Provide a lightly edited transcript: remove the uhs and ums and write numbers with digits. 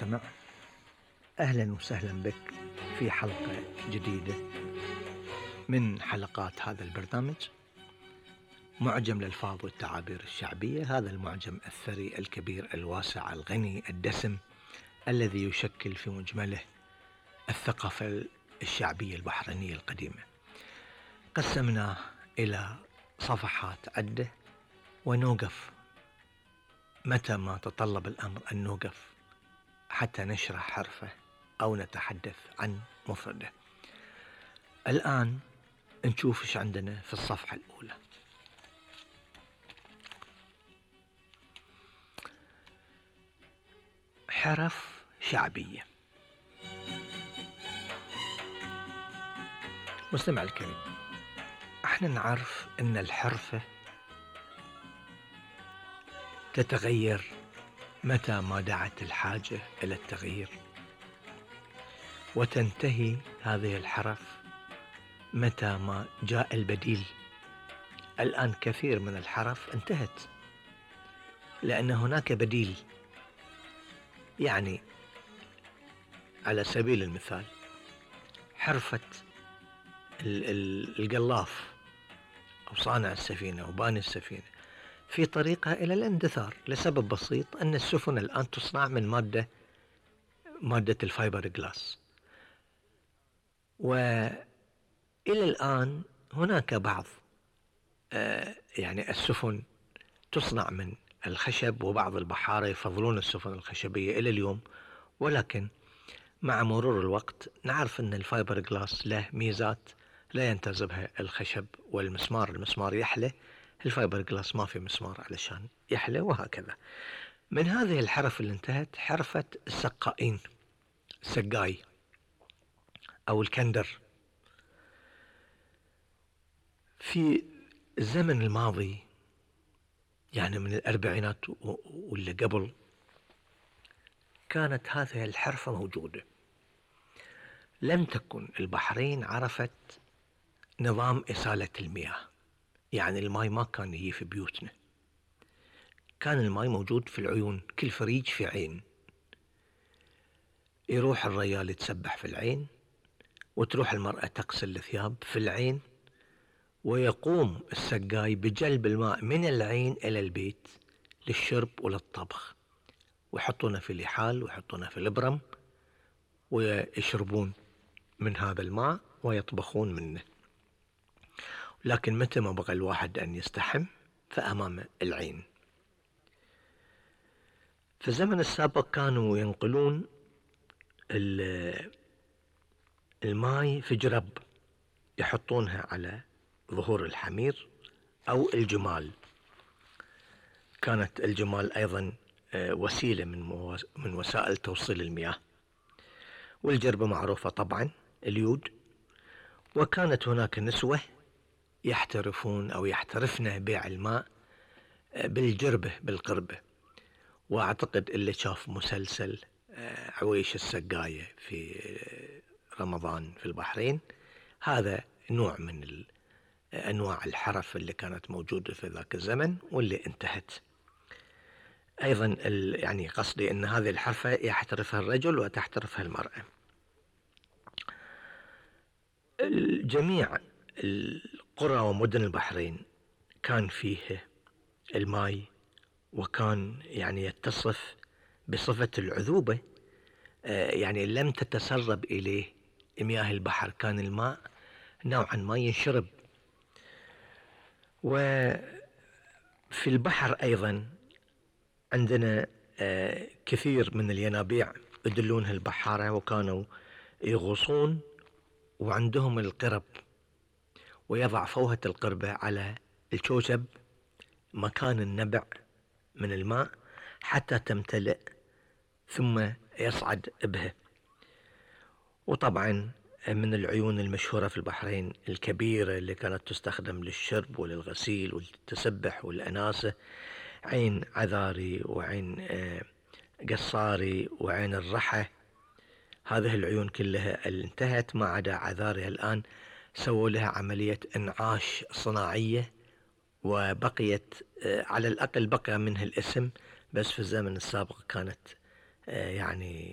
المستمع، أهلا وسهلا بك في حلقة جديدة من حلقات هذا البرنامج معجم الألفاظ والتعابير الشعبية. هذا المعجم الثري الكبير الواسع الغني الدسم الذي يشكل في مجمله الثقافة الشعبية البحرينية القديمة. قسمناه إلى صفحات عدة ونوقف متى ما تطلب الأمر أن نوقف حتى نشرح حرفه أو نتحدث عن مفرده. الآن نشوف إيش عندنا في الصفحة الأولى. حرف شعبية. مستمع الكريم، احنا نعرف ان الحرفة تتغير متى ما دعت الحاجة الى التغيير، وتنتهي هذه الحرف متى ما جاء البديل. الآن كثير من الحرف انتهت لأن هناك بديل. يعني على سبيل المثال حرفة القلاف أو صانع السفينة أو باني السفينة في طريقها إلى الاندثار لسبب بسيط، أن السفن الآن تصنع من مادة الفايبر جلاس، وإلى الآن هناك بعض يعني السفن تصنع من الخشب، وبعض البحارة يفضلون السفن الخشبية إلى اليوم. ولكن مع مرور الوقت نعرف أن الفايبر جلاس له ميزات لا ينتزبها الخشب والمسمار. المسمار يحلى، الفايبر جلاس ما في مسمار علشان يحلى، وهكذا. من هذه الحرف اللي انتهت حرفة السقائين، السقاي أو الكندر. في الزمن الماضي يعني من الأربعينات واللي قبل كانت هذه الحرفة موجودة. لم تكن البحرين عرفت نظام إسالة المياه، يعني الماء ما كان يجي في بيوتنا، كان الماء موجود في العيون، كل فريج في عين. يروح الرجال يتسبح في العين، وتروح المرأة تغسل الثياب في العين، ويقوم السقاي بجلب الماء من العين إلى البيت للشرب وللطبخ، ويحطونه في لحال ويحطونه في البرم ويشربون من هذا الماء ويطبخون منه. لكن متى ما بغى الواحد أن يستحم فأمام العين. في الزمن السابق كانوا ينقلون الماء في جرب يحطونها على ظهور الحمير أو الجمال. كانت الجمال أيضا وسيلة من وسائل توصيل المياه. والجربة معروفة طبعا اليود. وكانت هناك نسوة يحترفون أو يحترفن بيع الماء بالجربة بالقربة. وأعتقد اللي شاف مسلسل عويش السقاية في رمضان في البحرين، هذا نوع من أنواع الحرف اللي كانت موجودة في ذاك الزمن واللي انتهت. أيضا يعني قصدي أن هذه الحرفة يحترفها الرجل وتحترفها المرأة. جميع القرى ومدن البحرين كان فيه الماء، وكان يعني يتصف بصفة العذوبة، يعني لم تتسرب إليه مياه البحر، كان الماء نوعا ما ينشرب. وفي البحر أيضا عندنا كثير من الينابيع يدلونها البحارة، وكانوا يغوصون وعندهم القرب، ويضع فوهة القربة على الشوشب مكان النبع من الماء حتى تمتلئ ثم يصعد بها. وطبعا من العيون المشهورة في البحرين الكبيرة اللي كانت تستخدم للشرب وللغسيل والتسبح والأناسة، عين عذاري وعين قصاري وعين الرحة. هذه العيون كلها اللي انتهت ما عدا عذاري الآن سووا لها عملية انعاش صناعية، وبقيت على الأقل بقى منها الاسم، بس في الزمن السابق كانت يعني